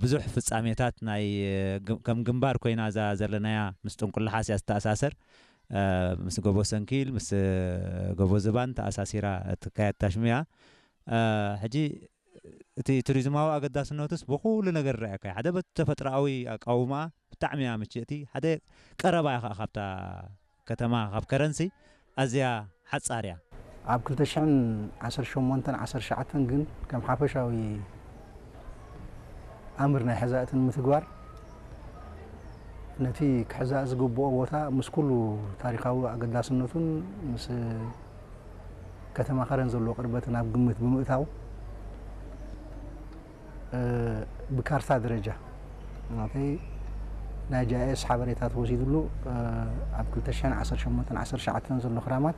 ብዙሕ ፍጻሜታት ናይ ከም ግንባር ኮይና እዛ ዘለናያ ምስ ጥንቁላሓስ እያ ዝተኣሳሰር። ምስ ጎቦ ሰንኪል፣ ምስ ጎቦ ዝባን ተኣሳሲራ እትካየድ ታሽሙ እያ። ሕጂ እቲ ቱሪዝማዊ ኣገዳስነቱስ ብኹሉ ነገር ረኣካ ሓደ በቲ ተፈጥሮኣዊ ኣቃውማ ብጣዕሚ እያ ምችእቲ። ሓደ ቀረባ እያ ከዓ ካብታ ከተማ ካብ ከረንሲ ኣዝያ ሓጻር እያ። ኣብ ክልተ ሽሕን ዓሰርተ ሸሞንተን ዓሰርተ ትሽዓተን ግን ከም ሓፈሻዊ ኣምር ናይ ሕዛእትን ምትግባር ነቲ ክሕዛእ ዝግብኦ ቦታ ምስ ኩሉ ታሪኻዊ ኣገዳስነቱን ምስ ከተማ ከረን ዘለዎ ቅርበትን ኣብ ግምት ብምእታው ብካርታ ደረጃ ናይ ጃኤስ ሓበሬታ ተወሲድሉ ኣብ ክልተ ሽሕን ዓሰርተ ሸሞንተን ዓሰርተ ትሽዓተን ዘሎ ክራማት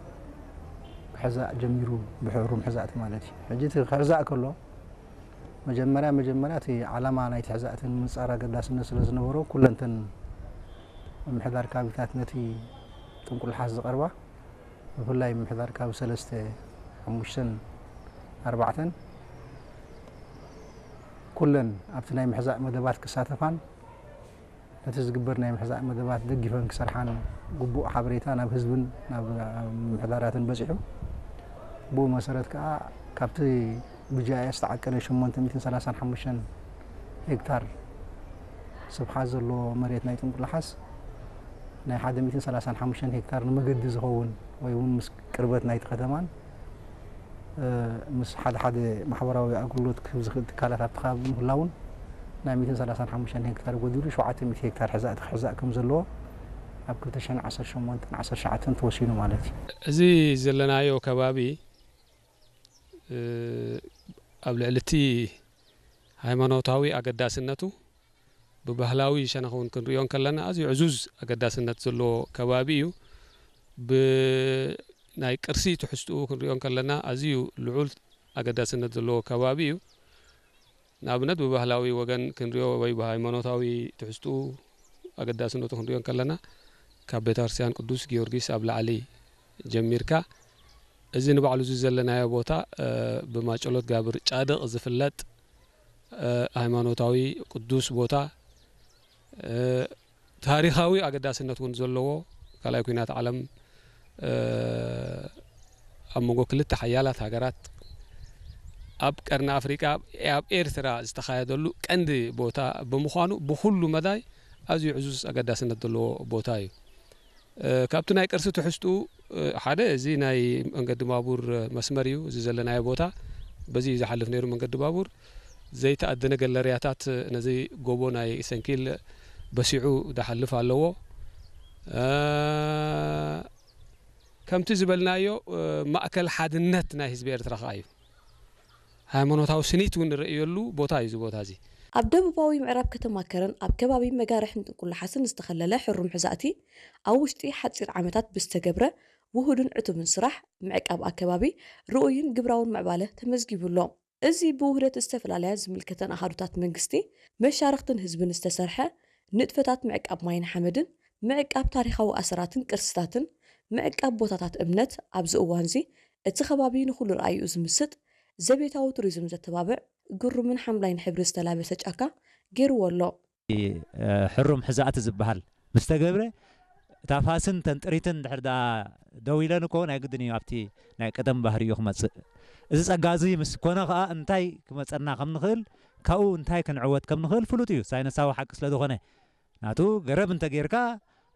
ክሕዛእ ጀሚሩ ብሕሩም ሕዛእቲ ማለት እዩ። ሕጂ እቲ ክሕዛእ ከሎ መጀመርያ መጀመርያ እቲ ዓላማ ናይቲ ሕዛእቲ ንምንጻር ኣገዳስነት ስለ ዝነበሮ ኩለንተን ምምሕዳር ካቢታት ነቲ ጥንቁልሓስ ዝቐርባ ብፍላይ ምምሕዳር ካብ ሰለስተ ሓሙሽተን ኣርባዕተን ኩለን ኣብቲ ናይ ምሕዛእ መደባት ክሳተፋን ነቲ ዝግበር ናይ ምሕዛእ መደባት ደጊፈን ክሰርሓን ግቡእ ሓበሬታ ናብ ህዝብን ናብ ምምሕዳራትን በፂሑ። ብኡ መሰረት ከዓ ካብቲ ብጃያ ዝተዓቀነ ሸሞንተ ሚእትን ሰላሳን ሓሙሽተን ሄክታር ስፍሓት ዘለዎ መሬት ናይ ጥንቁላሓስ ናይ ሓደ ሚእትን ሰላሳን ሓሙሽተን ሄክታር ንመገዲ ዝኸውን ወይ እውን ምስ ቅርበት ናይቲ ከተማን ምስ ሓደ ሓደ ማሕበራዊ ኣገልግሎት ክህብ ዝኽእል ትካላት ኣብቲ ከባቢ ምህላውን ናይ ሚእትን ሰላሳን ሓሙሽተን ሄክታር ጎዲሉ ሸውዓተ ሚእቲ ሄክታር ሕዛእቲ ክሕዛእ ከም ዘለዎ ኣብ ክልተ ሽሕን ዓሰርተ ሸሞንተን ዓሰርተ ትሽዓተን ተወሲኑ ማለት እዩ። እዚ ዘለናዮ ከባቢ ኣብ ልዕሊ እቲ ሃይማኖታዊ ኣገዳስነቱ ብባህላዊ ሸነኽ እውን ክንሪኦ እንከለና ኣዝዩ ዕዙዝ ኣገዳስነት ዘለዎ ከባቢ እዩ። ብናይ ቅርሲ ትሕዝትኡ ክንሪኦ እንከለና ኣዝዩ ልዑል ኣገዳስነት ዘለዎ ከባቢ እዩ። ንኣብነት ብባህላዊ ወገን ክንሪኦ ወይ ብሃይማኖታዊ ትሕዝትኡ ኣገዳስነቱ ክንሪኦ እንከለና ካብ ቤተክርስትያን ቅዱስ ጊዮርጊስ ኣብ ላዕሊ ጀሚርካ እዚ ንባዕሉ እዚ ዘለናዮ ቦታ ብማጨሎት ጋብር ጫድቕ ዝፍለጥ ሃይማኖታዊ ቅዱስ ቦታ ታሪኻዊ ኣገዳስነት እውን ዘለዎ ካልኣይ ኩናት ዓለም ኣብ መንጎ ክልተ ሓያላት ሃገራት ኣብ ቀርኒ ኣፍሪቃ ኣብ ኤርትራ ዝተኻየደሉ ቀንዲ ቦታ ብምዃኑ ብኩሉ መዳይ ኣዝዩ ዕዙዝ ኣገዳስነት ዘለዎ ቦታ እዩ። ካብቲ ናይ ቅርሲ ትሕዝትኡ ሓደ እዚ ናይ መንገዲ ባቡር መስመር እዩ። እዚ ዘለናዮ ቦታ በዚ እዩ ዝሓልፍ ነይሩ መንገዲ ባቡር። ዘይተኣደነ ገለርያታት ነዚ ጎቦ ናይ ሰንኪል በሲዑ ዝሓልፍ ኣለዎ። ከምቲ ዝበልናዮ ማእከል ሓድነት ናይ ህዝቢ ኤርትራ ከኣ እዩ። ሃይማኖታዊ ስኒት እውን ንርእየሉ ቦታ እዩ እዚ ቦታ እዚ። ኣብ ደቡባዊ ምዕራብ ከተማ ከረን ኣብ ከባቢ መጋርሕን ጥንቁላሓስን ዝተኸለለ ሕሩም ሕዛእቲ ኣብ ውሽጢ ሓጺር ዓመታት ብዝተገብረ ውሁድን ዕቱብን ስራሕ ምዕቃብ ኣከባቢ ርኡይን ግብራውን ምዕባለ ተመዝጊቡ ኣሎ። እዚ ብውህደት ዝተፈላለያ ዝምልከተን ኣሃዱታት መንግስቲ መሻርኽትን ህዝብን ዝተሰርሐ ንጥፈታት ምዕቃብ ማይን ሓመድን ምዕቃብ ታሪኻዊ ኣሰራትን ቅርስታትን ምዕቃብ ቦታታት እምነት ኣብዚ እዋንዚ እቲ ከባቢ ንኹሉ ርኣይኡ ዝምስጥ ዘቤታዊ ቱሪዝም ዘተባብዕ ግሩምን ሓምላይን ሕብሪ ዝተላበሰ ጫካ ገይርዎ ኣሎ። ሕሩም ሕዛእቲ ዝበሃል ምስ ተገብረ እታ ፋስን ተን ጥሪትን ድሕር ደኣ ደው ኢለን እኮ ናይ ግድን እዩ ኣብቲ ናይ ቀደም ባህሪኡ ክመፅእ። እዚ ፀጋ እዚ ምስ ኮነ ከዓ እንታይ ክመፀና ከም ንኽእል ካብኡ እንታይ ክንዕወት ከም ንኽእል ፍሉጥ እዩ ሳይነሳዊ ሓቂ ስለ ዝኾነ። ናቱ ገረብ እንተጌርካ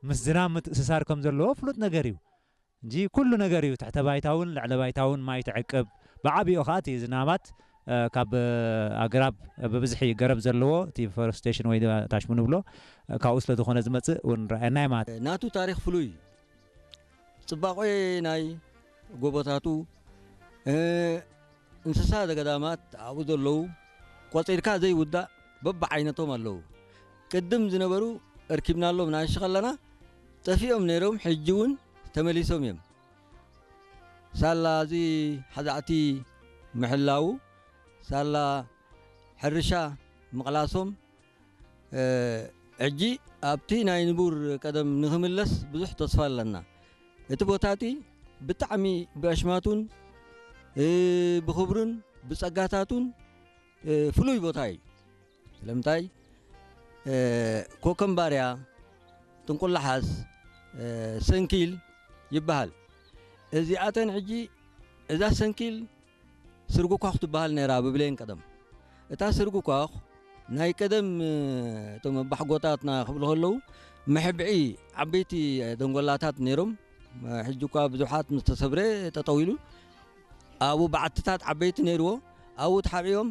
ምስ ዝናብ ምትእስሳር ከም ዘለዎ ፍሉጥ ነገር እዩ። እንጂ ኩሉ ነገር እዩ ትሕተ ባይታውን ልዕለ ባይታውን ማይ ትዕቅብ። ብዓቢኡ ከዓ እቲ ዝናባት ካብ ኣግራብ ብብዝሒ ገረብ ዘለዎ እቲ ፎረስቴሽን ወይ ታሽሙ ንብሎ ካብኡ ስለ ዝኾነ ዝመፅእ እውን ረኣየናይ ማለት። ናቱ ታሪክ ፍሉይ ፅባቆ ናይ ጎቦታቱ እንስሳ ዘገዳማት ኣብኡ ዘለዉ ቆፂርካ ዘይውዳእ በብዓይነቶም ኣለዉ። ቅድም ዝነበሩ እርኪብናሎም ንኣሽ ከለና ጠፊኦም ነይሮም፣ ሕጂ እውን ተመሊሶም እዮም። ሳላ እዚ ሓዛዕቲ ምሕላዉ፣ ሳላ ሕርሻ ምቕላሶም፣ ሕጂ ኣብቲ ናይ ንቡር ቀደም ንኽምለስ ብዙሕ ተስፋ ኣለና። እቲ ቦታ እቲ ብጣዕሚ ብኣሽማቱን ብኽብሩን ብጸጋታቱን ፍሉይ ቦታ እዩ። ለምታይ ኮከምባርያ፣ ጥንቁላሓስ፣ ሰንኪል ይበሃል። እዚኣተን ሕጂ እዛ ሰንኪል ስርጉኳኽ ትበሃል ነይራ ብብሌን ቀደም። እታ ስርጉኳኽ ናይ ቀደም እቶም ኣባሕጎታትና ክብሉ ከለዉ መሕብዒ ዓበይቲ ደንጎላታት ነይሮም። ሕጂ እኳ ብዙሓት ምስ ተሰብረ ጠጠው ኢሉ ኣብኡ በዓትታት ዓበይቲ ነይርዎ። ኣብኡ ተሓቢኦም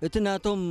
እቲ ናቶም